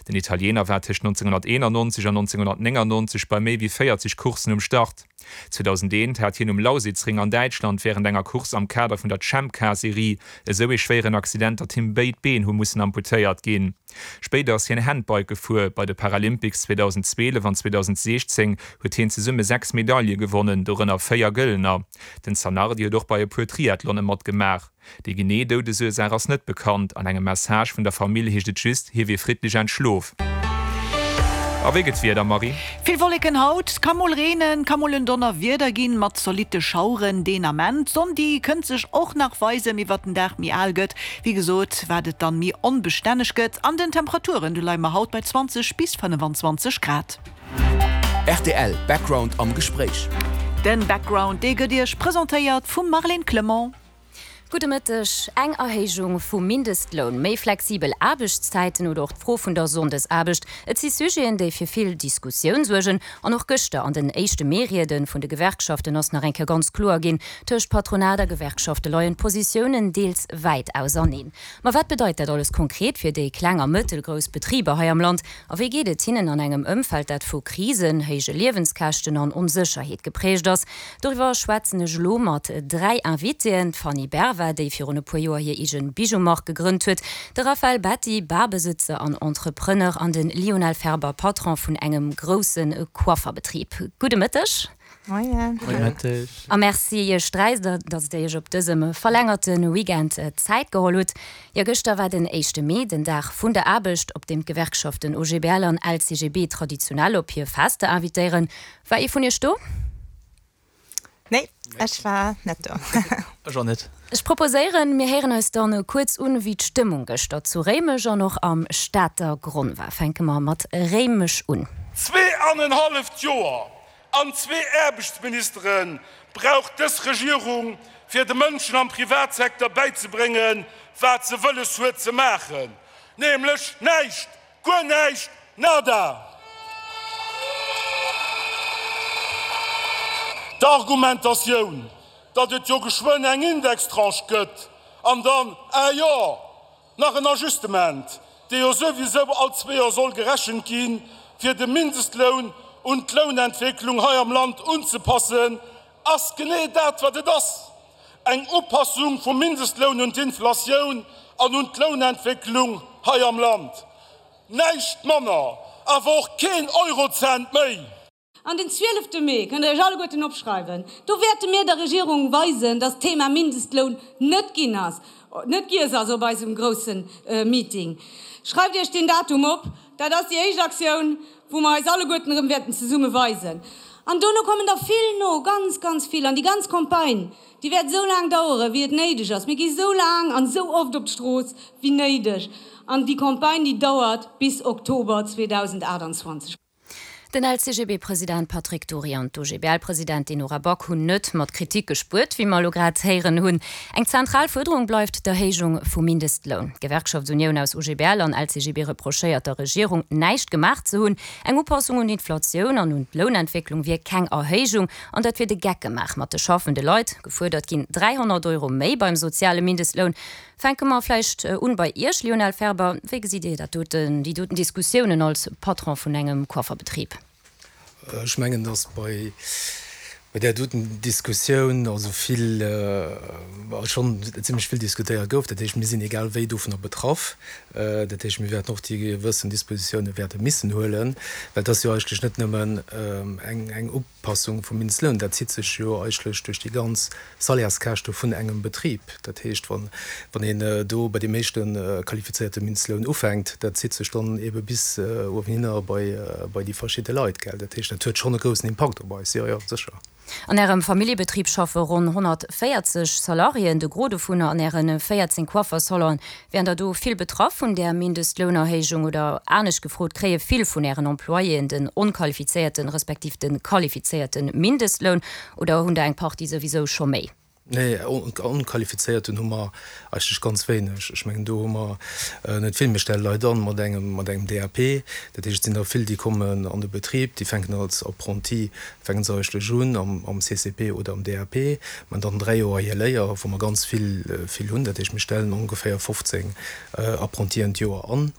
Den Italiener war tëscht 1991 an 1999 bei méi wéi 40 Courssen um Start. 2001 hat hien um Lausitzring an Däitschland wärend enger Course am Kader vun der Champ-Car-Serie esou ee schwéieren Accident, datt him béid Been hu mussen amputéiert ginn. Spéider ass hien Handbike gefuer. Bei de Paralympics 2012 an 2016 huet hien zesumme 6 Medaile gewonnen, dorënner 4 gëllener. Den Zanardi huet och bei e puer Triathlone matgemaach. Déi genee Doudesursaach ass net bekannt. An engem Message vun der Famill heescht et just, hie wier friddlech entschlof. A wéi gëtt d'Wieder, Marie? Vill Wolleken haut, et ka mol reenen, ka mol en Donnerwieder ginn, mat zolitte Schaueren deen Ament. D'Sonn déi kënnt sech och nach weisen, mee wat den Dag méi al gëtt, wéi gesot, wat et dann méi onbestänneg gëtt. An den Temperaturen, do leie mer haut bei 20 bis 25 Grad. Rtl Background am Gespréich. Den Background, dee gëtt Iech presentéiert vum Marlène Clement. Gudde Mëtteg. Eng Erhéijung vum Mindestloun, méi flexibel Aarbechtszäiten oder och d'Fro vun der Sonndesaarbecht, et si Sujeten, déi fir vill Diskussioun suergen. An och gëschter an den éischte Mee-Riede vun de Gewerkschaften ass nach eng Kéier ganz kloer ginn, Tëscht Patronat a Gewerkschafte leien d'Positiounen deels wäit auserneen. Ma wat bedeit dat alles konkret fir déi kleng a mëttelgrouss Betriber hei am Land? A wéi geet et hinnen an engem Ëmfeld, dat vu Krisen, héije Liewenskäschten an Onsécherheet geprägt ass? Doriwwer schwätzen ech elo mat 3 Invitéen, d'Fanny Berva, déi virun e puer Joer hir eegen Bijoumark gegrënnt huet, de Raphaël Betti, Barbesëtzer an Entrepreneur an de Lionel Ferber, Patron vun engem grousse Coifferbetrib. Gudde Mëtteg. Moien. Gudde Mëtteg. A Merci iech 3, datt dir iech op dësem verlängerte Weekend Zäit geholl hutt. Jo, gëschter war den éischte Mee, den Dag vun der Aarbecht, op deem d'Gewerkschaften OGBL an LCGB traditionell op hir Fester invitéieren. War ee vun iech do? Nee, ech war net do. Ech och net. Ech proposéieren, mir héieren eis dann kuerz un, wéi d'Stëmmung gëschter zu Réimech an och am Stater Gronn war. Fänke mer mat Réimech un. Zweeanenhalleft Joer an zwee Aarbechtsministere brauch dës Regierung, fir de Mënschen am Privatsecteur bäizebréngen, wat se wëlles huet ze maachen, nämlech näischt! Guer näischt! Nada! D'Argumentatioun, datt et jo geschwënn eng Indextranche gëtt an dann, ah jo, nach en Ajustement, dee jo souwisou all zwee Joer soll gerechent ginn, fir de Mindestloun un d'Lounentwécklung hei am Land unzepassen, ass genee dat, wat et ass, Eng Upassung vum Mindestloun un d'Inflatioun an un d'Lounentwécklung hei am Land. Näischt manner, awer och keen Eurocent méi! An den zwielefte Mee, kënnt Der Iech alleguerten opschreiwen, do wäerte mir der Regierung weisen, dass d'Thema Mindestloun net ginn ass, net giess ass op eisem grousse Meeting. Schreift Iech deen Datum op, dat ass déi éischt Aktioun, wou mer eis alleguerten erëm wäerten zesumme weisen. An dono kommen der vill no, ganz, ganz vill. An déi ganz Campagne, déi wäert esou laang daueren, wéi et néideg ass. Mir gi esou laang an esou oft op d'Strooss, wéi néideg. An déi Campagne, déi dauert bis Oktober 2028. Den LCGB-President Patrick Dury an d'OGBL-Presidentin Nora Back hunn net mat Kritik gespuert, wéi mer elo grad héieren hunn. Eng zentral Fuerderung bleift d'Erhéijung vum Mindestloun. D'Gewerkschaftsunioun aus OGBL an LCGB reprochéiert der Regierung, näischt gemaach ze hunn. Eng Upassung un d'Inflatioun an un d'Lounentwécklung wier keng Erhéijung an dat wier de Geck gemaach mat de schaffende Leit. Gefuerdert ginn 300 Euro méi beim soziale Mindestloun. Fänke mer vläicht un bei Iech, Lionel Ferber. Wéi gesitt Dir dat doten, déi doten Diskussiounen als Patron vun engem Coifferbetrib? Ech mengen, datt bei där doten Diskussioun also vill, schonn zimlech vill diskutéiert gouf. Dat heescht, mir sinn egal wéi dovunner betraff. Dat heescht, mir wäerten och déi gewëssen Dispositiounen wäerte missen huelen, well et ass jo eigentlech net nëmmen eng Upassung vum Mindestloun, dat zitt sech jo eigentlech duerch déi ganz Salaires-Käschte vun engem Betrib. Dat heescht, wann een do bei deem éischte qualifizéierte Mindestloun ufänkt, dat zitt sech dann eebe bis uewenhinner bei déi verschidde Leit, gell. Dat heescht, dat huet schonn e groussen Impakt op eis, jo, jo, sécher. An Ärem Familljebetrib schaffe ronn 140 Salariéen, de Gros dovunner an Äre 14 Coiffer-Salonen. Wären der do vill betraff vun där Mindestlounerhéijung? Oder anescht gefrot, Kréie vill vun Ären Employéen den onqualifizéierten, respektiv de qualifizéierte Mindestloun oder hunn der eng Partie souwisou scho méi? Nee, onqualifizéierten hu mer eigentlech ganz wéineg. Ech mengen, do hu mer net vill. Mir stelle Leit an mat engem, mat engem DAP. Dat heescht, et sinn der vill, déi kommen an de Betrib, déi fänken als Apprenti, fänke se eigentlech un am CCP oder am DAP, man dann 3 Joer hir Léier, wou mer ganz vill, vill hunn. Dat heescht, mir stellen ongeféier 15 Apprentien d'Joer an.